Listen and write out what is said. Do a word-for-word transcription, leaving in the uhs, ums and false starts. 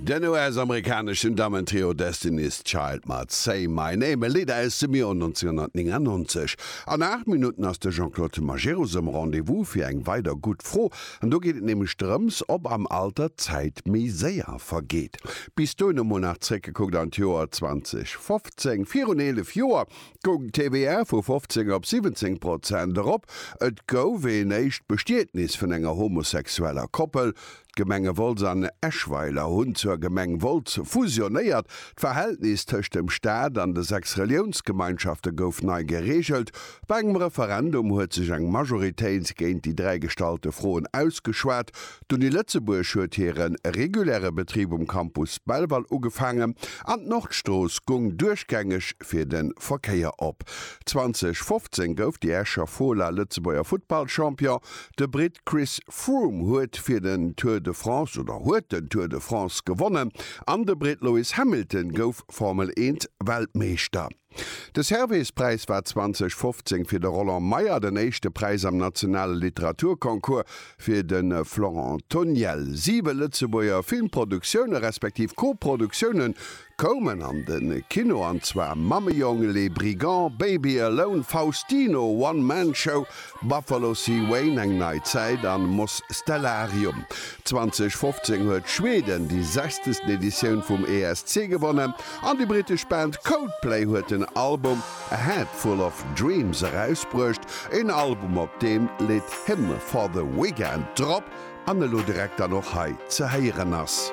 Den U S-amerikaneschen Dammentrio Destiny's Child mat Say My Name, e Lidd aus dem Joer nënzénhonnertnéngannonzeg. An aacht Minutten ass de Jean-Claude Majerus um Rendez-vous fir eng weider gutt Fro. An do geet et nämlech drëms, ob am Alter d'Zäit méi séier vergeet. Bis dohin emol nach zréckgekuckt an d'Joer zweedausendfofzéng. Virun eelef Joer goung d'T V A vu fofzéng op siwwenzéng Prozent erop. Et gouf een éischt Bestietnis vun enger homosexueller Koppel. D'Gemenge Wolz an Eschweiler hunn zur Gemeng Wolz fusionéiert. D'Verhältnis tëscht dem Staat an de sechs Reliounsgemeinschafte gouf nei gereegelt. Bei engem Referendum huet sech eng Majoritéit géint déi dräi gestallte Froen ausgeschwat. D'Uni Lëtzebuerg huet hire reguläre Betrib um Campus Belval ugefaangen an d'Nordstrooss goung duerchgängeg fir de Verkéier op. zweedausendfofzéng gouf déi Escher Fola Lëtzebuerger Futtballchampion. De Britt Chris Froome huet fir den Tour de France oder huet den Tour de France gewonnen an de Britt Lewis Hamilton gouf Formel eent Weltmeeschter. De Servais-Präis war zweedausendfofzéng fir de Roland Meyer, den éischte Präis am nationale Literaturconcours fir de Florent Toniel. Siwe Lëtzebuerger Filmproduktioune respektiv Koproduktioune koumen an de Kino, an zwar Mammejong, Les Brigands, Baby Alone, Faustino, One Man Show, Buffalo C. Wayne, eng nei Zäit an Mos Stellarium. zweedausendfofzéng huet Schweden déi sechzegst Editioun vum E S C gewonnen an déi brittesch Band Coldplay huet den Album A Head Full of Dreams erausbruecht, en Album, op deem d'Lidd Hymn for the Weekend drop an elo direkt dann och hei ze héieren ass.